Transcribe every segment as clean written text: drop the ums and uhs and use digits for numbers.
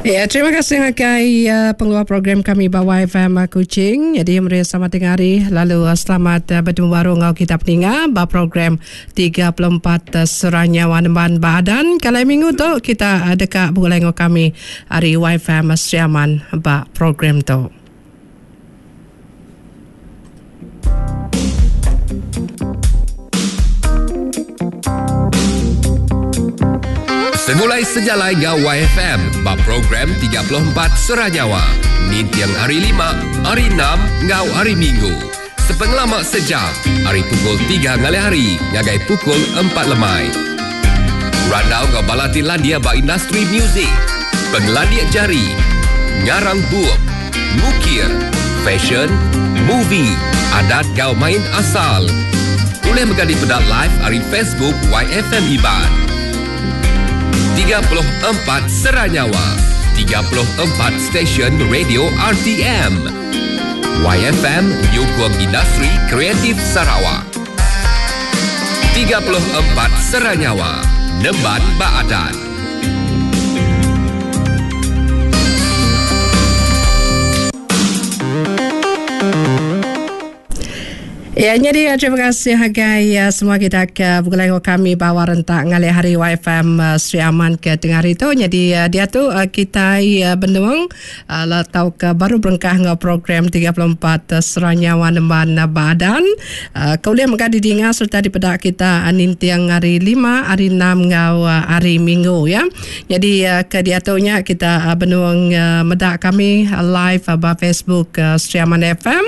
Ya, terima kasih ngagai uh, pengeluar program kami ba YFM uh, Kuching. Jadi meri selamat tengah hari lalu uh, selamat uh, bertemu baru enggau kita peninga ba program 34 uh, Serah Nyawa Nemban ba Adan. Kalau minggu tu kita uh, deka begulai enggau kami ari YFM Sri Aman ba program tu. Segulai sejalai enggau YFM ba program 34 Sera Nyawa ninting hari Lima, Hari Enam enggau Hari Minggu. Sepengelama sejam ari pukul tiga ngalih hari ngagai pukul empat lemai. Randau enggau bala ti landik ba industri muzik, pengelandik jari, ngarang bup, ngukir, fashion, movie, adat enggau main asal. Ulih mega dipeda live ari Facebook YFM Iban. 34 Sera Nyawa, 34 stesen radio RTM. YFM nyukung industri kreatif Sarawak. 34 Sera Nyawa, nemban ba adat. Ya, nyadi ya, terima kasih agai ya, semua kita ke begulai enggau kami bawa rentak ngalih hari YFM uh, Sri Aman ke tengah hari tu. Nyadi uh, dia tu uh, kita uh, benung uh, tau ke baru berengkah enggau program 34 uh, Seranyawa Nemban uh, Badan. Uh, ke ulih mega didinga sereta dipeda kita uh, ninting hari 5, hari 6 enggau uh, hari Minggu ya. Nyadi uh, ke diatu nya kita uh, benung uh, meda kami uh, live uh, ba Facebook uh, Sri Aman FM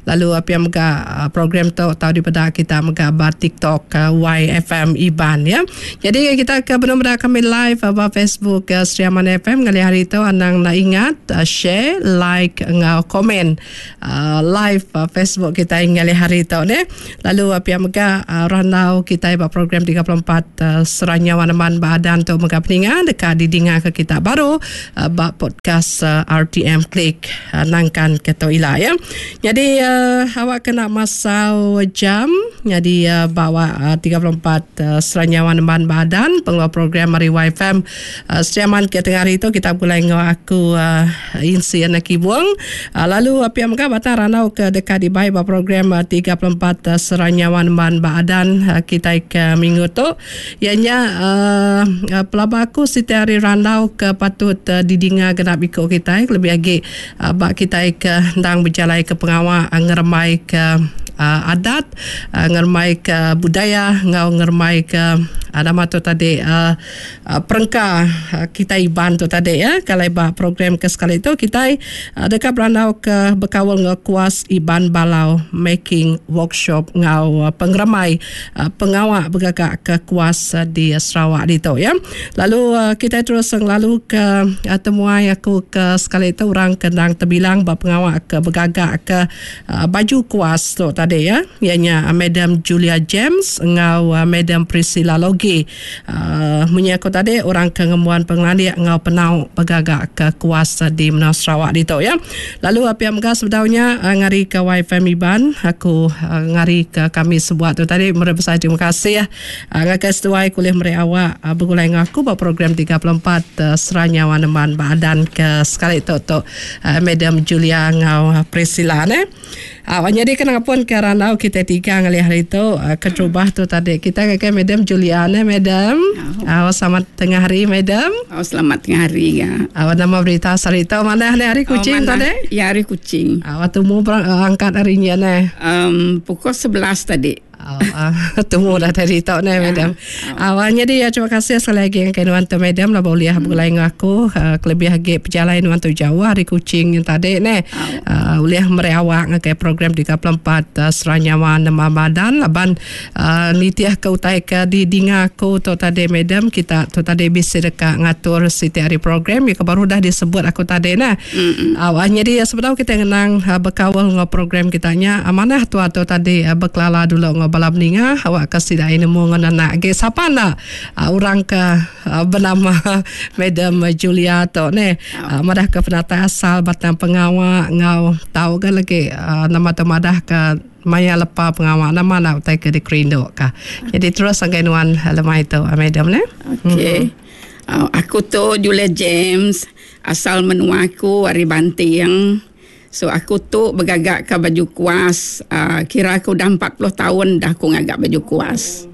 lalu uh, pia mega uh, program tu tau dipeda kita mega ba TikTok uh, YFM Iban ya. Jadi kita ke benung meda kami live uh, ba Facebook uh, Sri Aman FM ngalih hari tu anang enda ingat uh, share, like enggau komen live Facebook kitai ngalih hari tu neh. Lalu pia mega randau kitai ba program 34 Seranyau Aneman ba Adan tu mega peninga deka didinga ke kita baru ba podcast RTM Click nangkan ke tu ila ya. Nyadi awak kena masau jam nyadi ba awak 34 Seranyau Aneman ba Adan pengeluar program ari YFM Sri Aman ke tengah hari tu kita begulai enggau aku Insi Anak Kibung lalu pia mega batang randau ke deka dibai ba program 34 Seranyawa Nemban ba Adan kitai ke minggu tu iya nya pelaba aku siti hari randau ke patut didinga genap iku kitai kelebih agi ba kitai ke endang bejalai ke pengawa ngerembai ke adat ngerembai ke budaya enggau ngerembai ke nama tu tadi Perengka kitai Iban tu tadi ya. Kalai ba program ke sekali tu kitai deka berandau ke bekaul enggau kuas Iban Balau Making Workshop enggau pengeremai pengawa begaga ke kuas di Sarawak ditu ya. Lalu kitai terus ngelalu ke temuai aku ke sekali tu orang ke endang tebilang ba pengawa ke begaga ke baju kuas tu tadi ya. Iya nya Madam Julia James enggau Madam Priscilla Logie. Munyi aku tadi orang ke ngembuan pengelandik enggau penau begaga ke kuas di menua Sarawak ditu ya. Lalu pia mega sebedau nya ngari ke YFM Iban aku ngari ke kami sebuat tu tadi meri besai terima kasih ngagai seduai ke ulih meri awak begulai enggau aku ba program 34 Sera Nyawa Nemban ba adan ke sekali tu tu Madam Julia enggau Priscilla neh. Au nyadi ke ngapun ke randau kitai tiga ngalih hari tu keterubah tu tadi kitai ngagai Madam Julia neh Madam. Au selamat tengah hari Madam. Au selamat tengah hari ga. Au nama berita sehari tu manah neh hari Kuching oh, tadi? Ya hari Kuching. Au tumu angkat hari nya neh. Um pukul 11 tadi. Tumu dah tadi tok neh madam. Awak nyadi ya terima kasih sekali lagi ngagai nuan tu madam laban ulih begulai enggau aku kelebih agi pejalai nuan tu jauh ari Kuching nya tadi neh. Ulih meri awak ngagai program 34 Seranyawa Nema Badan laban nitih ke utai ke didinga aku tu tadi madam kita tu tadi bisi deka ngatur siti ari program ke baru dah disebut aku tadi neh. Awak nyadi sebedau kita ngenang bekaul enggau program kita nya manah tua tu tadi bekelala dulu enggau bala peninga awak ke sida iya nemu enggau nenak agi sapa enda orang ke benama Madam Julia tu neh madah ke penatai asal batang pengawa enggau tau ga lagi nama tu madah ke maya lepa pengawa nama enda utai ke dikerindu ka. Jadi terus ngagai nuan lemai tu Madam neh. Okey. Aku tu Julia James. Asal menua aku ari Banting. So aku tu begaga ka baju kuas uhh kira aku udah 40 taun dah aku ngaga baju kuas.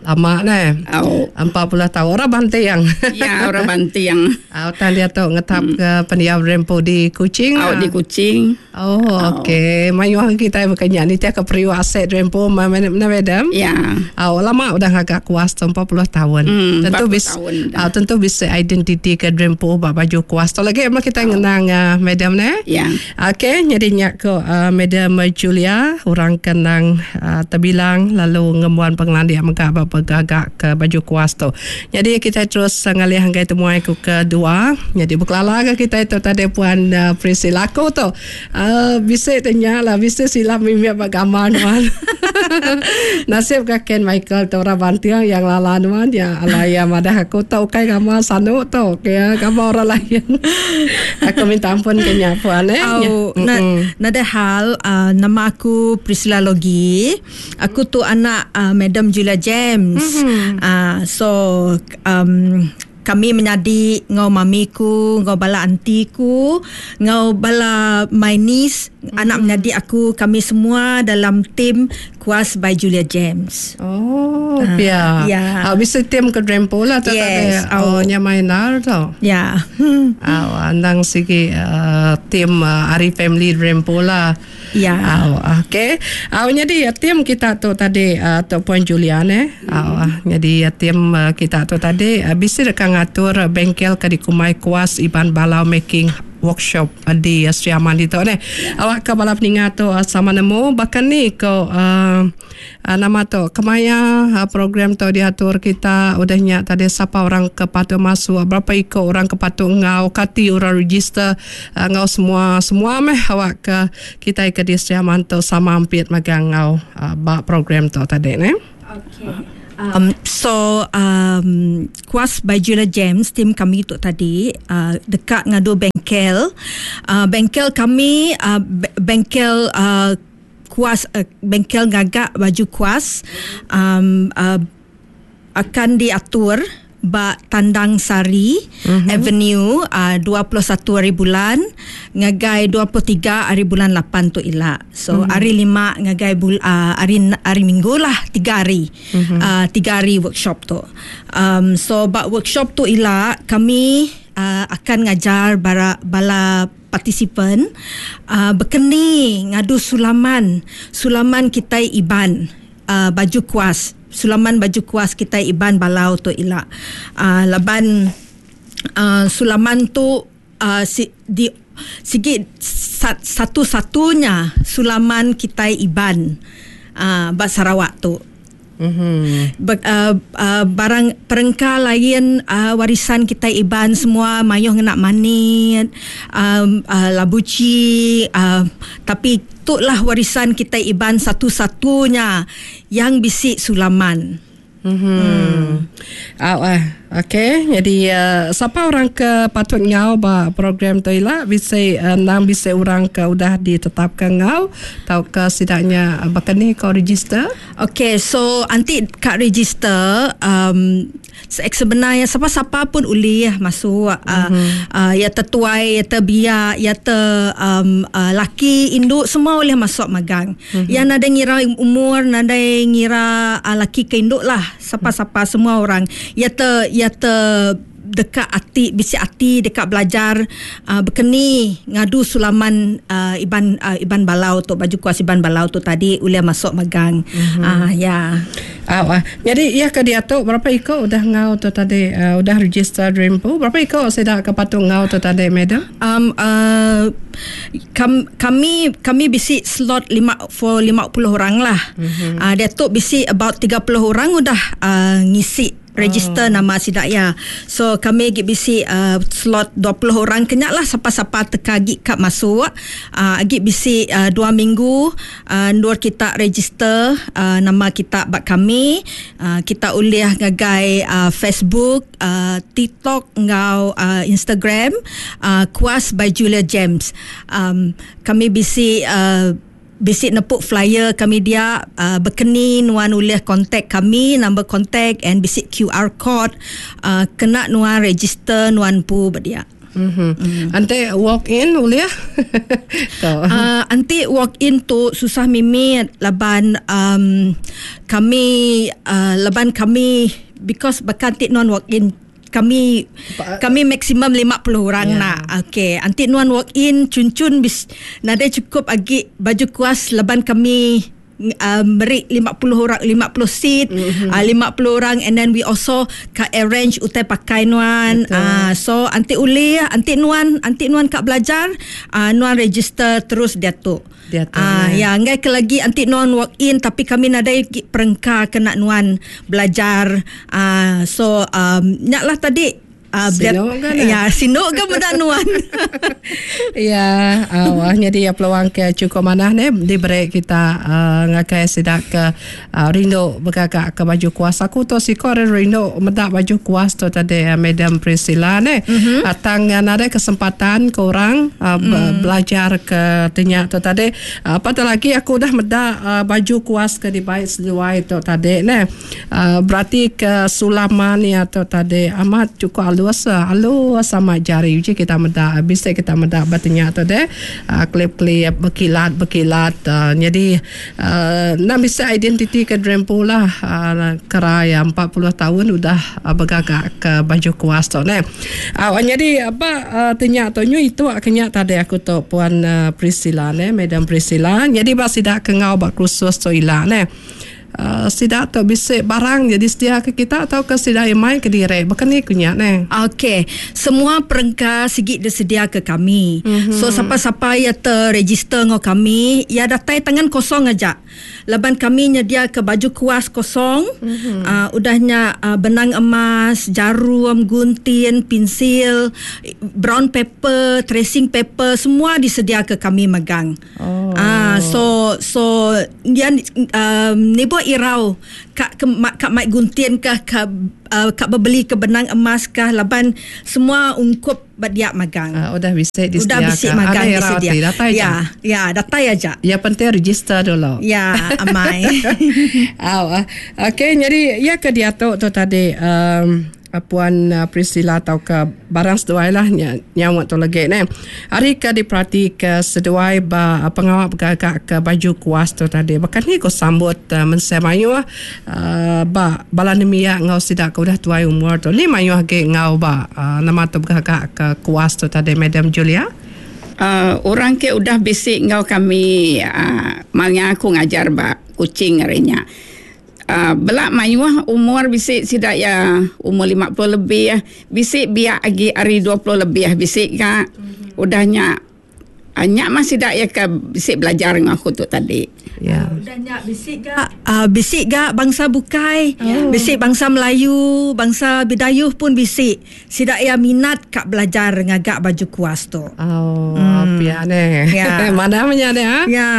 Lama neh. Au. 40 taun orang Banting. Ya orang Banting. Au tang diatu ngetap ke pendiau rempu di Kuching. Au di Kuching. Oh okey. Mayuh kitai baka nya nitih ke periuk asek rempu meh madam. Ya. Au lama udah ngaga kuas tu 40 taun. Hmm, Tentu 40 bis taun dah. au tentu bisi identiti ke rempu ba baju kuas tu lagi meh kitai ngenang madam neh. Ya. Okey nyadi nya ko Madam Julia orang ke endang tebilang lalu ngembuan pengelandik mega ba begaga ke baju kuas tu. Nyadi kitai terus ngalih ngagai temuai ku ke dua nyadi bekelala ga kitai tu tadi puan Priscilla aku tu bisi te nya lah bisi silap mimit ba gambar nuan. Nasib ga Ken Michael tu orang Banting iya ngelala nuan iya alai iya madah aku tu ukai gambar sanu tu gambar orang lain. Aku minta ampun ke nya puan eh. Au, na, nadai hal uh, nama aku Priscilla Logi. Aku tu anak uh, Madam Julia James. Mm-hmm. Uh, so um, kami menyadi ngau mami ku, ngau bala auntie ku, ngau bala my niece, mm-hmm. anak menyadi aku, kami semua dalam team Kuas by Julia James. Oh, uh, pia. Ya. Uh, bisa tim ke Drempo lah tu yes. tadi. Oh, nya main nar tu. Ya. Uh, andang sigi uh, tim uh, Ari Family Drempo lah. Ya. Uh, okey. Uh, jadi tim kita tu tadi uh, tu Puan Julian eh. Uh, jadi tim uh, kita tu tadi uh, bisa dekat ngatur bengkel ke di Kumai Kuas Iban Balau Making Workshop di Sri Aman ditu neh. Awak ke bala peninga tu sama nemu baka ni ko uhh nama tu kemaya program tu diatur kita udah nya tadi sapa orang ke patut masuk berapa iko orang ke patut enggau kati orang register enggau semua semua meh awak ke kitai ke di Sri Aman tu sama ampit magang enggau ba program tu tadi neh. Okay. Um, so um, Kuas by Julia James tim kami tu tadi uh, dekat ngadu bengkel. Uh, bengkel kami uh, bengkel uh, kuas uh, bengkel ngagak baju kuas um, uh, akan diatur ba Tandang Sari mm-hmm. Avenue uh, 21 hari bulan ngagai 23 hari bulan 8 tu ila. So mm-hmm. hari lima ngagai bul, uh, hari hari Minggu lah tiga hari. Mm-hmm. Uh, tiga hari workshop tu. Um, so ba workshop tu ila kami uh, akan ngajar bara, bala partisipan uh, berkeni ngadu sulaman sulaman kita Iban uh, baju kuas sulaman baju kuas kita Iban Balau tu ila uh, laban uh, sulaman tu uh, si, di sigi satu-satunya sulaman kita Iban uh, ba Sarawak tu. Mm-hmm. Be, uh, uh, barang perengka lain uh, warisan kita Iban semua mayuh ngena manit um, uh, labuci uh, tapi itulah warisan kita Iban satu-satunya yang bisi sulaman. Mm-hmm. Hmm. Uh, okey, jadi uh, siapa orang ke patut ngau ba program tu ila bisi uh, nang bisi orang ke udah ditetapkan ngau tau ke sidaknya uh, bahkan ni kau register? Okey, so anti kat register um, sebenarnya siapa-siapa pun boleh masuk mm-hmm. uh, uh, ya tertuai ya terbiak ya ter um, uh, laki induk semua boleh masuk magang. Mm-hmm. Yang nada ngira umur nada ngira uh, laki ke induk lah siapa-siapa mm-hmm. semua orang ya ter ya ter dekat hati bisi hati dekat belajar uh, berkeni ngadu sulaman uh, Iban uh, Iban Balau tu baju kuas Iban Balau tu tadi boleh masuk magang. Mm-hmm. Uh, ya. Uh, uh. Jadi ia ke dia tu berapa iko udah ngau tu tadi uh, udah register Dreampo berapa iko saya ke patung ngau tu tadi madam? Um uh, kam, kami kami bisi slot 5 for 50 orang lah. Mm-hmm. Uh, dia tu bisi about 30 orang udah uh, ngisi register oh. nama sidak ya. So kami gi bisi uh, slot 20 orang kenyak lah siapa-siapa teka gi kap masuk. Uh, gi bisi uh, 2 minggu uh, nur kita register uh, nama kita bak kami. Uh, kita uliah ngagai uh, Facebook, uh, TikTok ngau uh, Instagram uh, Kuas by Julia James. Um, kami bisi uh, bisi nepuk flyer kami dia uh, berkeni nuan ulih kontak kami number kontak and bisi QR code uh, kena nuan register nuan pu berdia. Mm. Enti walk in ulih? Tu. Uh, enti walk in tu susah mimit laban um, kami uh, laban kami because baka enti nuan walk in kami kami maksimum 50 orang yeah. nak. Okey, enti nuan walk in cun-cun bis nadai cukup agi baju kuas laban kami uh, meri 50 orang 50 seat mm-hmm. uh, 50 orang and then we also ka arrange utai pakai nuan uh, so anti uli anti nuan anti nuan ka belajar uh, nuan register terus dia tu Dia tu. Ah, ya, enggai ke lagi anti nuan walk in tapi kami nadai perengka kena nuan belajar. Ah, so um, nya lah tadi Uh, sinu kan? Ya, sinu ke meda nuan. ya, uh, jadi ya peluang ke cukup manah ni diberi kita uh, ngakai sidak ke uh, rindu begagak ke baju kuas. Aku tu siko ada rindu meda baju kuas tu tadi uh, Madam Priscilla ni. Mm-hmm. Uh, tang uh, ada kesempatan ke orang uh, mm. belajar ke tenya tu tadi. Uh, apatah lagi aku dah meda uh, baju kuas ke dibaik seduai tu tadi ni. Uh, berarti ke sulaman ya tu tadi amat cukup alus alus sama jari uji kita meda bisa kita meda batunya tu deh uh, klip-klip berkilat berkilat uh, jadi uh, nak bisa identiti ke Drempu lah uh, keraya 40 tahun udah uh, bergagak ke baju kuas tu ne. Uh, jadi apa uh, tanya tu nyu itu kenya tadi aku tu puan uh, Priscilla ne Madam Priscilla jadi ba sidak ke ngau ba kursus tu ila ne. Uh, sidak tu bisik barang jadi sedia ke kita atau ke sidak yang main ke diri bukan ni kunya ne. Okey, semua perengka sigi disedia ke kami. Mm-hmm. So siapa-siapa yang terregister ngau kami, ya datai tangan kosong aja. Laban kami nyedia ke baju kuas kosong. Mm-hmm. Uh, udahnya uh, benang emas, jarum, gunting, pensil, brown paper, tracing paper semua disedia ke kami megang. Oh. Ah uh, so so dia um, ni buat irau kak ke kak mai gunting kah kak uh, kak berbeli ke benang emas kah laban semua ungkup badiak magang. Uh, udah bisa disediakan. Udah bisa magang disedia. Datai ya, ya, datai aja. Ya penting register dulu. Ya, amai. Oh, okey, jadi ya ke dia tu tu tadi um, Puan Priscilla atau ke barang seduai lah nyawa tu lagi ne. Hari ke diperhati ke seduai ba pengawal bergagak ke baju kuas tu tadi. Bahkan ni ko sambut uh, mensia mayu uh, ba bala nemia ngau sidak ke udah tuai umur tu. Ni mayu age ngau ba uh, nama tu bergagak ke kuas tu tadi Madam Julia. Uh, orang ke udah bisik ngau kami uh, maya aku ngajar ba Kuching harinya. Uh, belak mayuh umur bisik sidak ya umur 50 lebih ya. Bisik biak lagi hari 20 lebih ya bisik ka. Mm-hmm. Udahnya Anyak masih dak ya ke bisik belajar dengan aku tu tadi. Ya. Udahnya bisik ga uh, bisik ga bangsa bukai, oh. Bisik bangsa Melayu, bangsa Bidayuh pun bisik. Sidak ya minat kak belajar ngagak baju kuas tu. Oh, hmm. Pia ne. Ya. Mana punya ne ha? Ya.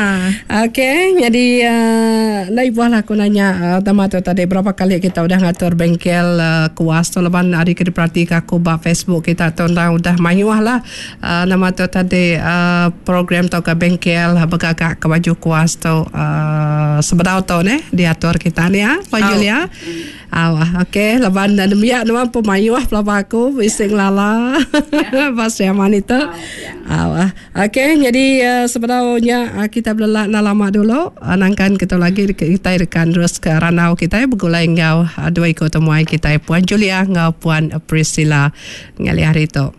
Okey, jadi uh, nak ibu lah aku nanya uh, tema tu tadi berapa kali kita udah ngatur bengkel uh, kuas tu leban hari ke diperhati aku ba Facebook kita tu udah mayuh lah uh, nama tu tadi uh, program atau ke bengkel bergagak ke baju kuas tu uh, sebenar tu ne diatur kita ni ya Puan oh. Julia. Awah, okey, leban dan demiak nama pemayuh pelaba aku bising lala. Pas yang mana itu. Awah. Okey, jadi uh, sebenarnya uh, kita belelak nak lama dulu. Uh, nangkan kita lagi kita rekan terus ke ranau kita bergulai ngau uh, dua ikut temuai kita Puan Julia ngau Puan Priscilla ngali hari itu.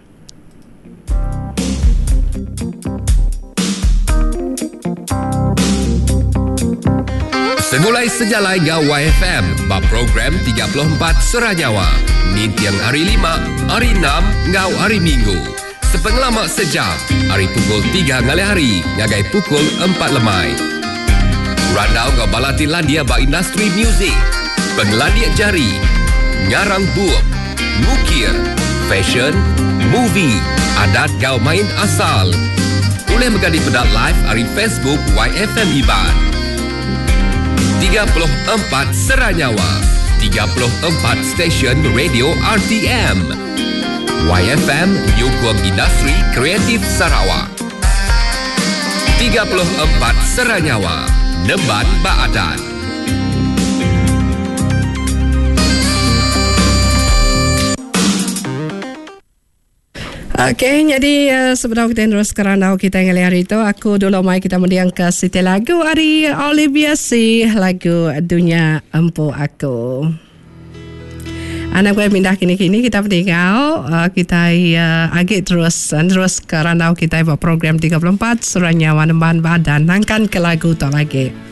Segulai sejalai ngau YFM ba program 34 Seranyawa. Nintiang hari 5, hari 6 ngau hari Minggu. Sepengelama sejam, hari pukul 3 ngalih hari ngagai pukul 4 lemai. Randau ngau balati landia ba industri muzik, pengelandia jari, ngarang bup, mukir, fashion, movie, adat gau main asal. Boleh mengganti pedak live hari Facebook YFM Iban. 34 Seranyawa, 34 stesen radio RTM. YFM Nyukung Industri Kreatif Sarawak. 34 Seranyawa, Nemban Baadan. Okey, nyadi uh, sebedau kita terus ke randau kita ngalih hari tu, aku dulu mai kita mendiang ke siti lagu ari Olivia C, lagu Dunya Empu Aku. Anak gue pindah kini-kini kita peninggal uh, kita uh, agi terus uh, terus ke randau kita buat program 34 Surah Nyawa Nemban Badan nangkan ke lagu tu lagi.